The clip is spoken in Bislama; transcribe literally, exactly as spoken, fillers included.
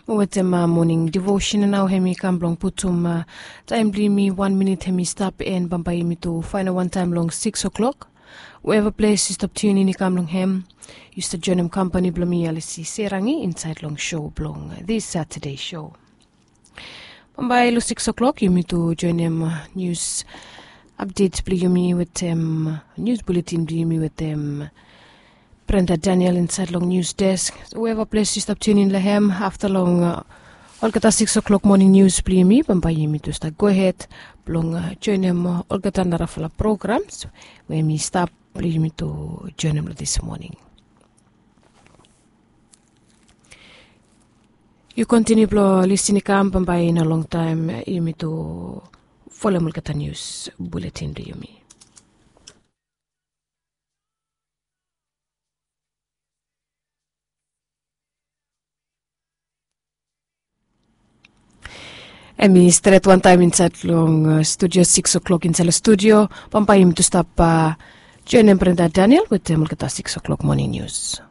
Wetem moning devotion nao hem i kam blong putum taem blong yumi wan minit hem i stap, en bambae yumi tu faenem wantaem long sikis oklok. Weva ples yu stap tiunin i kam long hem, yu stap joenem kampani blong mi, Alisi Serangi, insaed long sou blong dis Satade sou. Bambae long sikis oklok yumi tu joenem nius apdet blong yumi wetem nius buletin blong yumi wetem Brenda Daniel insaed long nius desk. Weva ples yu stap tiunin long hem afta long olgeta sikis oklok moning nius blong yumi, bambae yumi tu stap gohed blong joenem olgeta narafala programs we hem i stap blong yumi tu joenem long dis moning. Yu kontiniu blong lisin i kam, bambae i no longtaem yumi tu folem olgeta nius buletin blong yumi. Hem i stret wantaem insaed long studio, sikis oklok insaed long studio. Bambae yumi tu stap joenem Brenda Daniel wetem olgeta sikis oklok moning nius.